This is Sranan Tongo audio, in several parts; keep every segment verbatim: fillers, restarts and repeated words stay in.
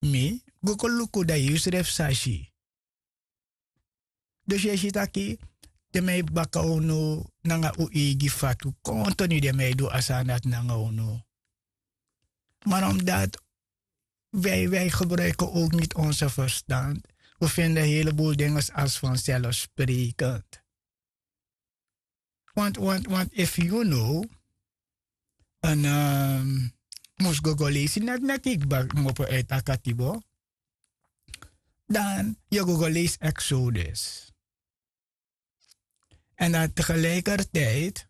mi go kon luku dan yu srefi sa si. Dus yu e si taki den man e baka unu nanga un eigi fatu konto ni den man e du a sani dati nanga unu. Maar omdat wij wij gebruiken ook niet onze verstand, we vinden heleboel dingen als vanzelfsprekend. Want want want if you know en mus go go leisi net net iki baka kmopo uit a katibo, dan yu go go leisi exodus. En dan tegelijkertijd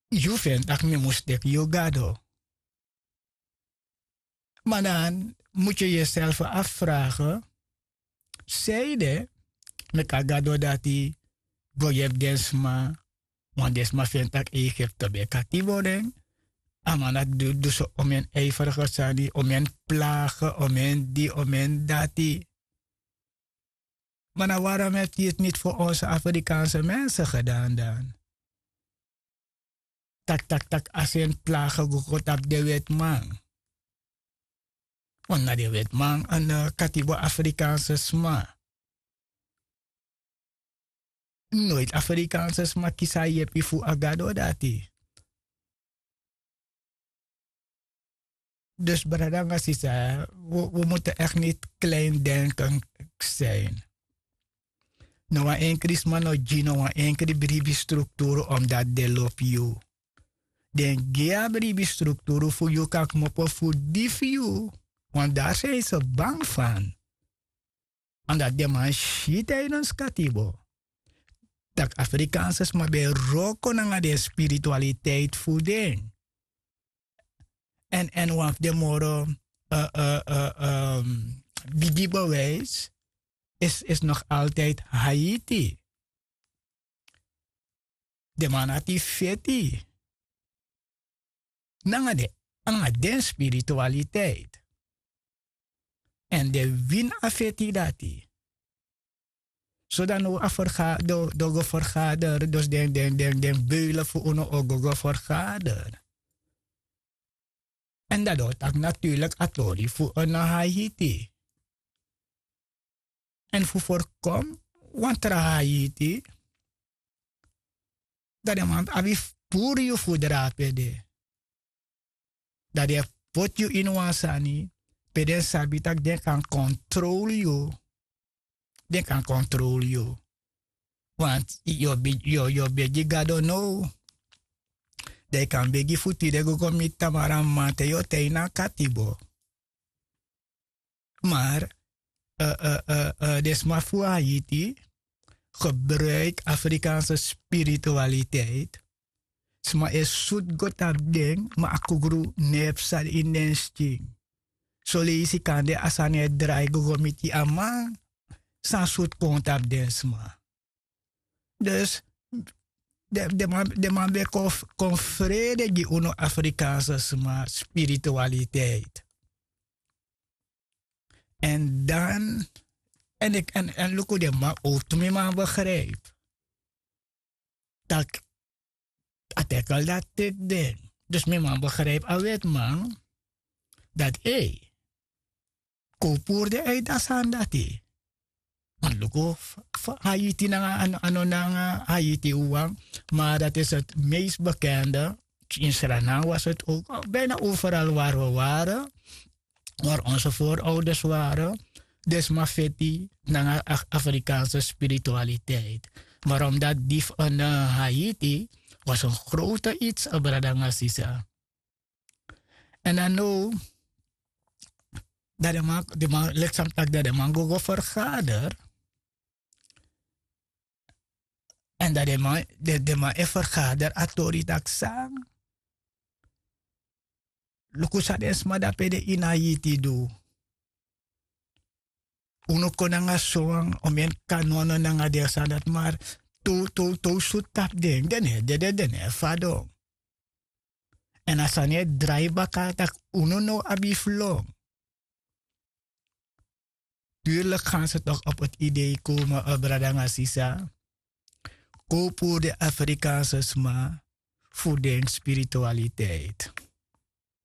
yu vinti taki mi mus teki yu gado. Maar dan moet yu yuself afvragen, zeide meki a gado dati go yepi den sma? Want den sma feni tak' egipte ben katibo den. A man dati du so omen ijferige sani, omen plage, omen di omen dati. Maar na warom heti yu tu niti fu onse afrikaanse mensen gedan dan? Tak' tak' tak' a seni plage go kon tapu den wetiman. Want na den wetiman en katibo afrikaanse sma. Noiti afrikaanse sma kisi a yepi fu a gado dati. Dus brada nanga sisa, wi mus tu ekti niti kleindenken. Sin. No wan enkri sma no gi no wan enkri bribi strukturu omdati den lobi yu. Den gi a bribi strukturu fu yu kan kmopo fu di fu yu. Want dari san yu se bang fan. Omdati den man si tidens katibo tak' afrikaanse sma ben e wroko nanga den spiritualiteit fu den. Èn èn wan fu den moro bigi bewijs is is nog altijdi haiti. Den man dati feti nanga den nanga den spiritualiteit. Èn den wini a feti dati. Sodan no a fergader den o go fergader dus den den den den beulen fu unu o go go fergader. Èn dati den o taki naturlik a tori fu en na haiti. Èn fu ferkomi wan tra haiti, dan den man abi fu puru yu fu drape de. Dan den e poti yu ini wan sani pe den sabi tak' den kan kontrol yu. Den kan kontrol yu. Want yu o begi gado now. Dan yu kan begi fu tide go go miti tamara maman te yu o tan ini a katibo. Maar den sma fu haiti gebruiki afrikaanse spiritualiteit. Sma e sutu go tapu den ma a kugru no e psa ini den skin. Soleisi kande a sani e drai go go miti a man san sutu kon tapu den sma. Dus den man ben kon frede gi unu afrikaanse sma spiritualiteit. Èn dan èn iki èn luku den man owtu mi man begripi tak' a tekel dati teki den. Dus mi man begripi a wetiman dati ei kon puru den uit a sani dati. Wan luku haiti nanga a no nanga haiti wawan. Maar dati is heti meest bekende. In sranan was heti ouk bijna overal wari wi wari. Wari onse voorouders wari. Den sma feti nanga afrikaanse spiritualiteit. Maar omdati di fu en haiti was en grote its a brada nanga sisa. Èn dan now dan den man leki san mi taki dan den man go go fergader. Èn dan den man e fergader a tori tak' san? Luku san den sma dape de ini a yiti du. Unu kon nanga sowan omen kanono nanga den sani dati mar towtow sutu tapu den den no e dede den no e fadon. Èn a sani e drai baka tak' unu no abi fu lon. Turlik gan se tok' op eti idei komen brada nanga sisa. Kon puru den afrikaanse sma fu den spiritualiteit.